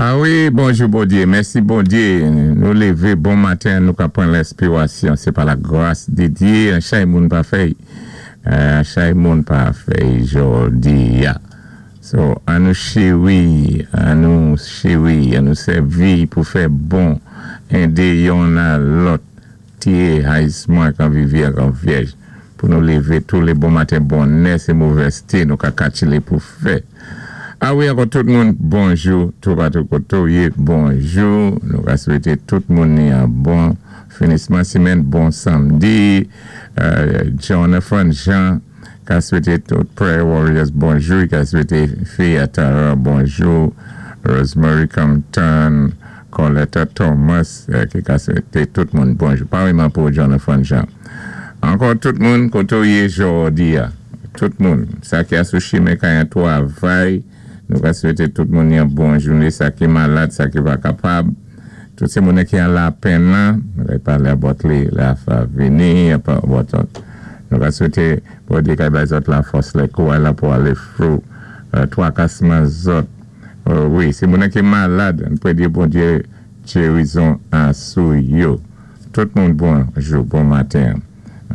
A wi, bonjou Bondyé, mèsi Bondyé, nou lévé bon maten, nou ka pran lènspiwasyon, sé pa la gras di Dyé, an chay moun pa fèy, an chay moun pa fèy jòdi a. So, an nou chéwi, an nou chéwi, an nou sèvi pou fè bon, édé yonn a lòt, Tié hayisman kan vivi ak an vyèj pou nou lévé tou lé bon maten bonnè sé movèzté nou ka katchilé pou fè. A wi ankò tout moun bonjou toupatou koté w yé bonjou nou ka swété tout moun ni an bon finisman simèn bon samdi Jonathan Jean ka swété tout prayer warriors bonjou i ka swété Fia Tara bonjou Rosemary Compton Coletta Thomas ki ka swete tout moun bonjou. Pareman pou Jonathan Jean. Ankò tout moun kote w ye jòdi a. Tout moun. Sa ki a sou chimen kay an twavay, nou ka swete tout moun yon bon joune. Sa ki malad, sa ki pa kapab. Tout se moun ki an lapenn lan, nou ka pale about li lè a vini, about nou ka swete Bondye kay bay zòt lafòs lè kouray la pou ale through twakasman zòt. Wi se moun nan ki malad an premye Bondye gerizon a sou yo tout moun bonjou bon maten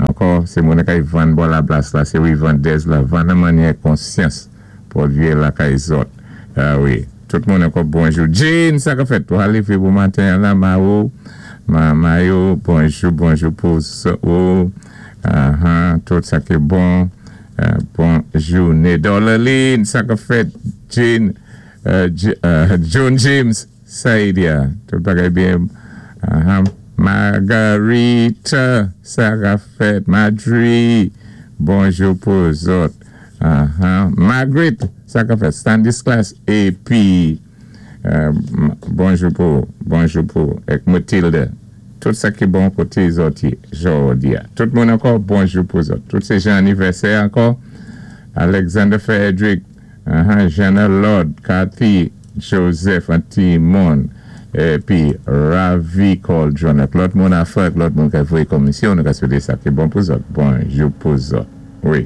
ankò se moun nan kay vann bò lablas la se wi vandèz la vann an manyè konsyans pwodwi lakay zòt wi tout moun ankò bonjou Jane sa kap fèt wa leve bon maten an la Mao Mayo bonjou bonjou pou ou ahan tout sa ki bon bon joune Dorleline sa kap fèt Jane John James Saïdia tout bagay byen Margarita sa kap fèt Madri bonjou pou zòt Margaret sa kap fèt Stanislas epi bonjou pou bonjou pou ek Mathilde tout sa ki bon koté zòt yé jòdi a tout moun ankò bonjou pou zòt tout se jan anivèsè ankò Alexander Frederick Jeanne Lord, Kathy Joseph an timoun epi Ravi Coldron ak lòt moun afè ak lòt moun kap voye komisyon nou ka swete sa ki bon pou zòt bonjou pou zòt wi.